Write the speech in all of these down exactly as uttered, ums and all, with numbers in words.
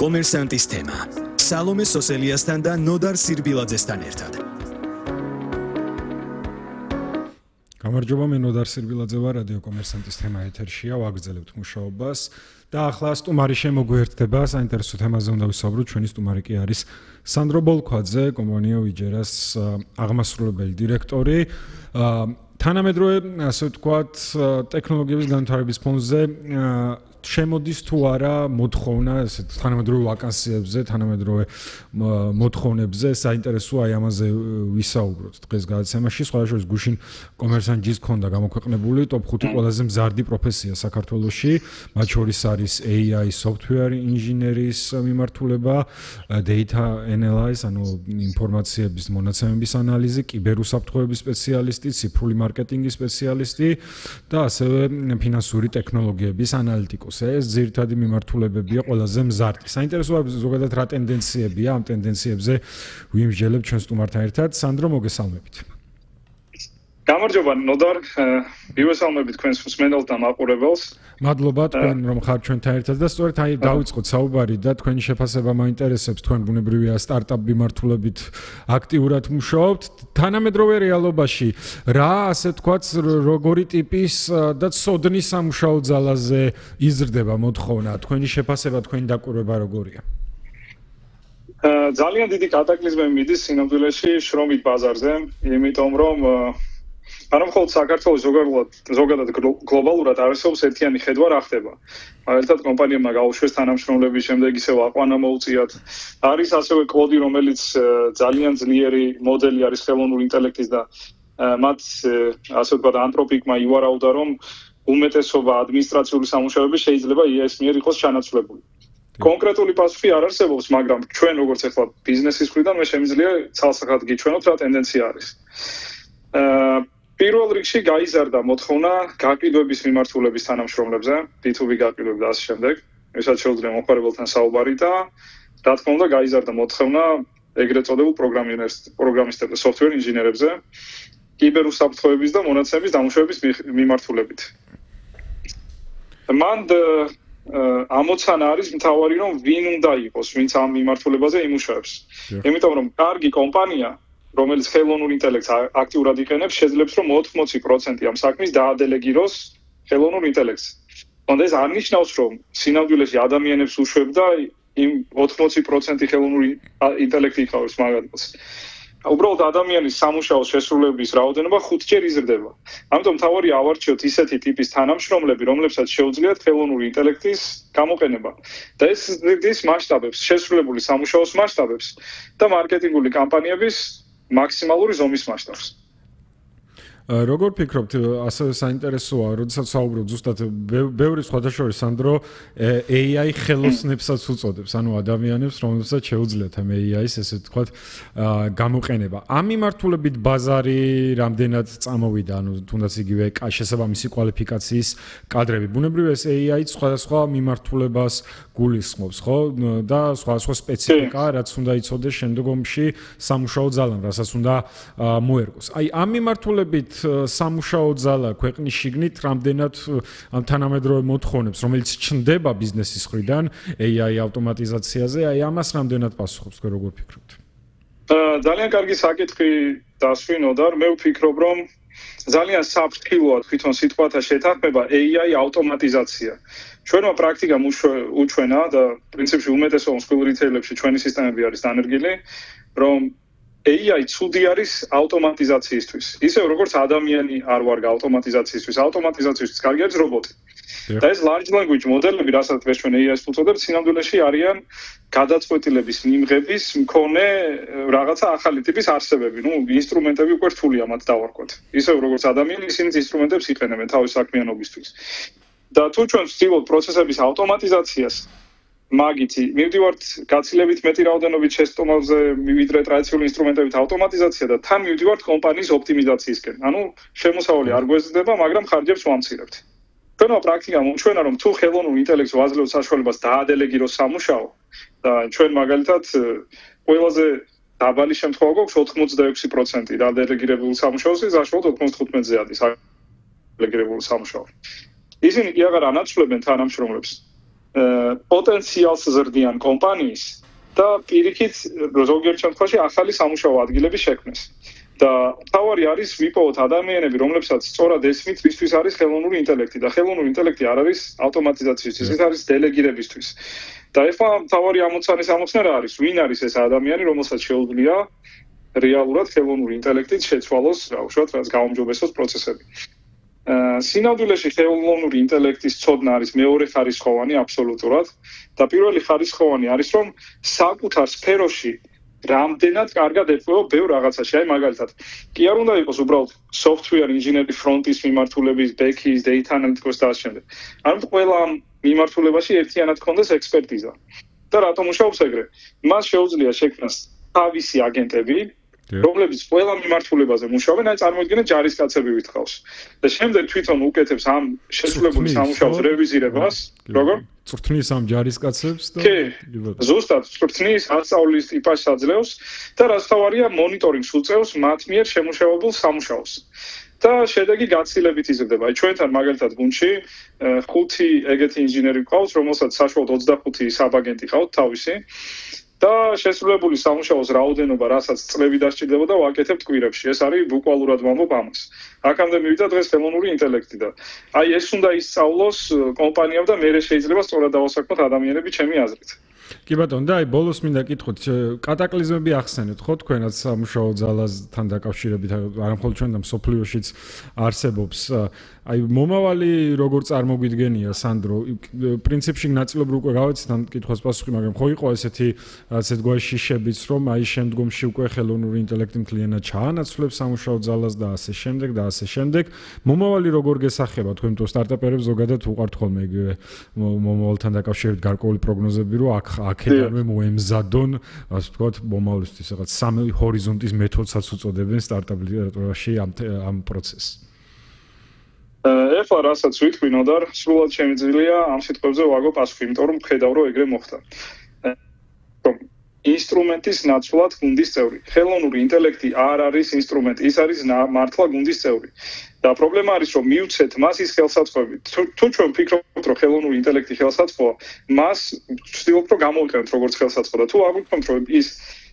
კომერსანტის თემა. სალომე სოსელიასთან და ნოდარ სირბილაძესთან ერთად. გამარჯობა, მე ნოდარ სირბილაძე ვარ, რადიო კომერსანტის თემა ეთერშია, ვაგრძელებთ მუშაობას და ახლა სტუმარი შემოგვიერთდება, საინტერესო თემაზე უნდა ვისაუბროთ. ჩვენი სტუმარი კი არის სანდრო ბოლქვაძე, კომპანია ვიჯერას აღმასრულებელი დირექტორი. თანამედროვე, ასე ვთქვათ, ტექნოლოგიების განვითარების ფონზე შემოდის თუ არა მოთხოვნა ესეთ თანამედროვე ვაკანსიებზე, თანამედროვე მოთხოვნებზე, საინტერესოა აი ამაზე ვისაუბროთ დღეს გადაცემაში. სხვადასხვა გუშინ კომერსანტის ქონდა გამოქვეყნებული ტოპ ხუთი ყველაზე მზარდი პროფესია საქართველოში, მათ შორის არის ეი აი software ინჟინერის მიმართულება, data analysis, ანუ ინფორმაციების მონაცემების ანალიზი, კიბერუსაფრთხოების სპეციალისტი, ციფრული მარკეტინგის სპეციალისტი და ასევე ფინანსური ტექნოლოგიების ანალიტიკოსი. ეს ძირითადი მიმართულებებია ყველაზე მზარდი. საინტერესოა ზოგადად რა ტენდენციებია, ამ ტენდენციებზე ვიმსჯელებთ ჩვენ სტუმართან ერთად. სანდრო, მოგესალმებით. გამარჯობა, ნოდარ, მივესალმებით თქვენს მსმენელს და მაყურებელს. მადლობა თქვენ რომ ხართ ჩვენთან ერთად და სწორედ აი დავიწყოთ საუბარი და თქვენი შეფასება მაინტერესებს. თქვენ ბუნებრივია სტარტაპ მიმართულებით აქტიურად მუშაობთ. თანამედროვე რეალობაში რა, ასე ვთქვათ, როგორი ტიპის და ცოდნის სამუშაო ძალაზე იზრდება მოთხოვნა? თქვენი შეფასება, თქვენი დაკვირვება როგორია? ძალიან დიდი კატაკლიზმი მიდის სინამდვილეში შრომით ბაზარზე, იმიტომ რომ არა მხოლოდ საქართველოს ზოგადად ზოგადად გლობალურად არსებობს ერთიანი ხედვა რა ხდება. მაგალითად კომპანიებმა გაუშვეს თანამშრომლების, შემდეგ ისევ აყვანა მოუწიათ. არის ასევე კოდი, რომელიც ძალიან ძლიერი მოდელი არის ხელოვნური ინტელექტის და მათ ასე ვთქვათ ანთროპიკმა ივარაუდა, რომ უმეტესობა ადმინისტრაციული სამუშაოები შეიძლება ი ეს მიერ იყოს ჩანაცვლებული. კონკრეტული პასუხი არ არსებობს, მაგრამ ჩვენ როგორც ახლა ბიზნესის მხრიდან მე შემიძლია ცალსახად გიჩვენოთ რა ტენდენცია არის. პირველ რიგში გაიზარდა მოთხოვნა გაყიდვების მიმართულების თანამშრომლებზე, ბი თუ ბი გაყიდვები და ასე შემდეგ. ვისაც შეუძლია მომხმარებელთან საუბარი და რა თქმა უნდა გაიზარდა მოთხოვნა ეგრეთ წოდებულ პროგრამისტებზე, software ინჟინერებზე, კიბერუსაფრთხოების და მონაცემების დამუშავების მიმართულებით. მან ამოცანა არის მთავარი, რომ ვინ უნდა იყოს, ვინც ამ მიმართულებაზე იმუშავებს. იმიტომ რომ კარგი კომპანია, რომელიც ხელოვნურ ინტელექტს აქტიურად იყენებს, შეძლებს რომ ოთხმოცი პროცენტი ამ საქმის დაადელეგიროს ხელოვნურ ინტელექტს. თუმცა ეს არ ნიშნავს, რომ სინამდვილეში ადამიანებს უშვებდა იმ ოთხმოცი პროცენტი ხელოვნური ინტელექტი იყავს მაგალითად. უბრალოდ ადამიანის სამუშაოს შესრულების რაოდენობა ხუთჯერ იზრდება. ამიტომ მთავარი ავარჩიოთ ისეთი ტიპის თანამშრომლები, რომლებსაც შეუძლიათ ხელოვნური ინტელექტის გამოყენება. და ეს ზრდის მასშტაბებს, შესრულებული სამუშაოს მასშტაბებს და მარკეტინგული კამპანიების მაქსიმალური ზომის მასშტაბს. როგორ ფიქრობთ, ასევე საინტერესოა, როდესაც საუბრობთ ზუსტად ბევრი სხვადასხვა სანდრო ეი აი ხელოსნებსაც უწოდებს, ანუ ადამიანებს, რომლებსაც შეუძლიათ ამ ეი აის, ესე ვთქვათ, გამოყენება. ამ მიმართულებით ბაზარი რამდენად წამოვიდა, ანუ თუნდაც იგივე შესაბამისი კვალიფიკაციის კადრები. ბუნებრივია ეს ეი აი სხვადასხვა მიმართულებას გულისხმობს, ხო? და სხვადასხვა სპეციფიკა, რაც უნდა იცოდეს შემდგომში სამუშაო ძალამ, რასაც უნდა მოერგოს. აი, ამ მიმართულებით სამუშაო ძალა ქვეყნის შიგნით რამდენად ამ თანამედროვე მოთხოვნებს, რომელიც ჩნდება ბიზნესის მხრიდან ეი აი ავტომატიზაციაზე, აი ამას რამდენად პასუხობს, თქვენ როგორ ფიქრობთ? ძალიან კარგი საკითხი დასვინოდარ. მე ვფიქრობ, რომ ძალიან საფრთხილოა თვითონ სიტყვათა შეთანხმება ეი აი ავტომატიზაცია. ჩვენმა პრაქტიკამ უჩვენა და პრინციპში უმეტესობა მსხვილ რიტეილებში ჩვენი სისტემები არის დანერგილი, რომ ეი აი ცუდი არის ავტომატიზაციისთვის. ისევ როგორც ადამიანი არ ვარ ავტომატიზაციისთვის, ავტომატიზაციისთვის კარგი არის რობოტი. და ეს large language მოდელები, რასაც დღეს ჩვენ ეი აის ვუწოდებთ, სინამდვილეში არიან გადაწყვეტილების მიმღების მქონე რაღაცა ახალი ტიპის არსებები. ნუ ინსტრუმენტები უკვე რთულია მათ დავარქვათ. ისევ როგორც ადამიანი, ისინიც ინსტრუმენტებს იყენებენ თავის საქმიანობისთვის. და თუ ჩვენ ვცდილობთ პროცესების ავტომატიზაციას, მაგითი მივდივართ გაცილებით მეტი რაოდენობით შეცდომაზე, ვიდრე ტრადიციული ინსტრუმენტებით ავტომატიზაცია და თან მივდივართ კომპანიის ოპტიმიზაციისკენ. ანუ შემოსავალი არ გვეზრდება, მაგრამ ხარჯებს ვამცირებთ. ჩვენმა პრაქტიკამ უჩვენა, რომ თუ ხელოვნურ ინტელექტს ვაძლევთ საშუალებას დაადელეგიროს სამუშაო და ჩვენ მაგალითად ყველაზე დაბალი შემთხვევა გვაქვს ოთხმოცდაექვსი პროცენტი დაადელეგირებული სამუშაოსი, საშუალოდ ოთხმოცდათხუთმეტზე არის ადელეგირებული სამუშაო. ისინი კი აღარ ანაცვლებენ თანამშრომლებს. პოტენციალს ზრდიან კომპანიის და პირიქით ზოგიერთ შემთხვევაში ახალი სამუშაო ადგილების შექმნას. და თავარი არის ვიპოვოთ ადამიანები, რომლებსაც სწორად ესმით, ვისთვის არის ხელოვნური ინტელექტი და ხელოვნური ინტელექტი არ არის ავტომატიზაციისთვის, ეს არის დელეგირებისთვის. და ეხლა თავარი ამოცანის ამოხსნა რა არის? ვინ არის ეს ადამიანი, რომელსაც შეუძლია რეალურად ხელოვნური ინტელექტით შეცვალოს, რა ვთქვათ, რაც გაუმჯობესოს პროცესები. სინამდვილეში ხელოვნური ინტელექტის ცოდნა არის მეორე ხარისხოვანი აბსოლუტურად და პირველი ხარისხოვანი არის რომ საკუთარ სფეროში რამდენად კარგად ეწევა ბევრ რაღაცაში. აი მაგალითად, კი არ უნდა იყოს უბრალოდ software engineer ფრონტის მიმართულების, back-ის, data analytics და ასე შემდეგ. არამედ ყველა მიმართულებაში ერთიანად ქონდეს ექსპერტიზა. და რატომ მუშაობს ეგრე? მას შეუძლია შექმნას თავისი აგენტები, რომლებიც ყველა მიმართულებაზე მუშაობენ, აი წარმოიდგინეთ ჯარისკაცები ვითხოვს. და შემდეგ თვითონ უკეთებს ამ შესრულებული სამუშაოს რევიზირებას, როგორ? წვრთნის ამ ჯარისკაცებს და ზუსტად წვრთნის ასწავლის ტიპას აძლევს და რაც თავარია მონიტორინგს უწევს მათ მიერ შემუშავებულ სამუშაოს. და შედეგი გაცილებით იზრდება. აი ჩვენთან მაგალითად გუნდში ხუთი ეგეთი ინჟინერი ყავს, რომელსაც საშუალოდ ოცდახუთი საბაგენტი ყავთ თავისი. და შესრულებული სამუშაოს რაოდენობა, რასაც წლები დასჭირდებოდა, ვაკეთებთ კვირებში. ეს არის ბუკვალურად ვამბობ ამას. აქამდე მივიდა დღეს ხელოვნური ინტელექტი და აი ეს უნდა ისწავლოს კომპანიამ და მერე შეიძლება სწორად დავასაქმოთ ადამიანები ჩემი აზრით. კი ბატონო, და აი ბოლოს მინდა კითხოთ, კატაკლიზმები ახსენეთ ხო თქვენაც სამუშაო ძალასთან დაკავშირებით, არა მხოლოდ ჩვენ და მსოფლიოშიც არსებობს. აი მომავალი როგორ წარმოგვიდგენია სანდრო? პრინციპში ნაწილობრივ უკვე გავეცით ამ კითხვას პასუხი, მაგრამ ხო იყო ესეთი ასეთ გვარი შიშებიც, რომ აი შემდგომში უკვე ხელოვნური ინტელექტი მთლიანად ჩაანაცვლებს სამუშაო ძალას და ასე შემდეგ და ასე შემდეგ. მომავალი როგორ გესახება თქვენ თო სტარტაპერებს ზოგადად უყართ ხოლმე იგივე მომავალთან დაკავშირებით გარკვეული პროგნოზები, რომ აქ აქედანვე მოემზადონ, ასე ვთქვათ, მომავლისთვის რაღაც სამი ჰორიზონტის მეთოდსაც უწოდებენ სტარტაპ ლიტერატურაში ამ ამ პროცესს. ეხლა რასაც ვიტყვი ნოდარ, სრულად შემიძლია ამ სიტყვებზე ვაგო პასუხი, იმიტომ რომ ხედავ რომ ეგრე მოხდა. ინსტრუმენტის ნაცვლად გუნდის წევრი. ხელოვნური ინტელექტი არ არის ინსტრუმენტი, ის არის მართლა გუნდის წევრი. და პრობლემა არის რომ მივცეთ მას ის ხელსაწყოები. თუ ჩვენ ვფიქრობთ რომ ხელოვნური ინტელექტი ხელსაწყოა, მას ვცდილობთ რომ გამოვიყენოთ როგორც ხელსაწყო და თუ არ ვფიქრობთ რომ ის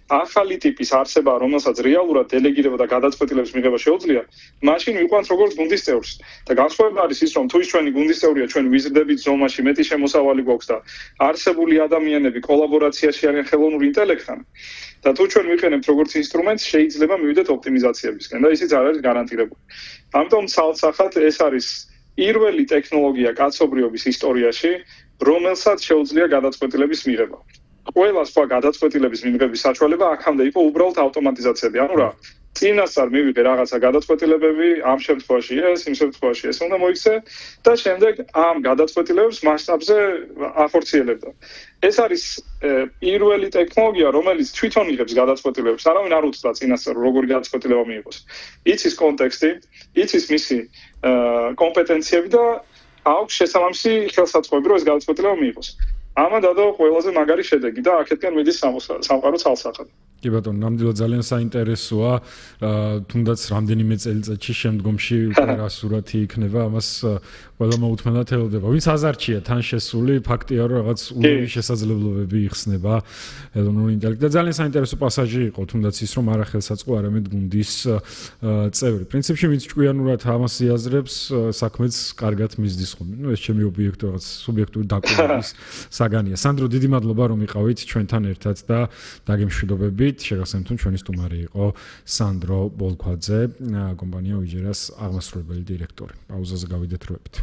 ახალი ტიპის არსება, რომელსაც რეალურად დელეგირება და გადაწყვეტილების მიღება შეუძლია, მაშინ ვიყვანთ როგორც გუნდის წევრს. და განსხვავება არის ის, რომ თუ ის ჩვენი გუნდის წევრია, ჩვენ ვიზრდებით ზომაში, მეტი შემოსავალი გვაქვს და არსებული ადამიანები კოლაბორაციაში არიან ხელოვნურ ინტელექტთან. და თუ ჩვენ ვიყენებთ როგორც ინსტრუმენტს, შეიძლება მივიდეთ ოპტიმიზაციებისკენ და ისიც არ არის გარანტირებული. ამიტომ ცალსახად ეს არის პირველი ტექნოლოგია კაცობრიობის ისტორიაში, რომელსაც შეუძლია გადაწყვეტილების მიღება. ყველა სხვა გადაწყვეტილების მიღების საშუალება აქამდე იყო უბრალოდ ავტომატიზაციები. ანუ რა, წინასწარ მივიღე რაღაცა გადაწყვეტილებები, ამ შემთხვევაში ეს, იმ შემთხვევაში ეს უნდა მოიქცე და შემდეგ ამ გადაწყვეტილებებს მასშტაბზე ახორციელებდა. ეს არის პირველი ტექნოლოგია, რომელიც თვითონ იღებს გადაწყვეტილებებს. არავინ არ უთხრა წინასწარ როგორი გადაწყვეტილება მიიღოს. იცის კონტექსტი, იცის მისი კომპეტენციები და აქვს შესაბამისი ხელსაწყოები, რომ ეს გადაწყვეტილება მიიღოს. ამან დადო ყველაზე მაგარი შედეგი და აქეთკენ მიდის სამყარო ცალსახად. კი ბატონო, ნამდვილად ძალიან საინტერესოა, თუნდაც რამდენიმე წელიწადში შემდგომში უკვე რა სურათი იქნება, ამას ყველა მოუთმენლად ელოდება. ვინც აზარჩია თან შესული, ფაქტია რომ რაღაც უნური შესაძლებლობები იხსნება ხელოვნური ინტელექტი და ძალიან საინტერესო პასაჟი იყო, თუნდაც ის რომ არა ხელსაწყო, არამედ გუნდის წევრი. პრინციპში ვინც ჭკვიანურად ამას იაზრებს, საქმეც კარგად მისდის ხოლმე. ნუ ეს ჩემი ობიექტო რაღაც სუბიექტური დაკვირვების საგანია. სანდრო, დიდი მადლობა რომ იყავით ჩვენთან ერთად და დაგემშვიდობებით. შეგახსენებთ, ჩვენი სტუმარი იყო სანდრო ბოლქვაძე, კომპანია უიჯერას აღმასრულებელი დირექტორი. პაუზაზე გავიდეთ როებით.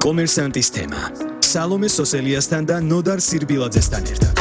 კომერსანტის თემა. სალომე სოსელიასთან და ნოდარ სირბილაძესთან ერთად.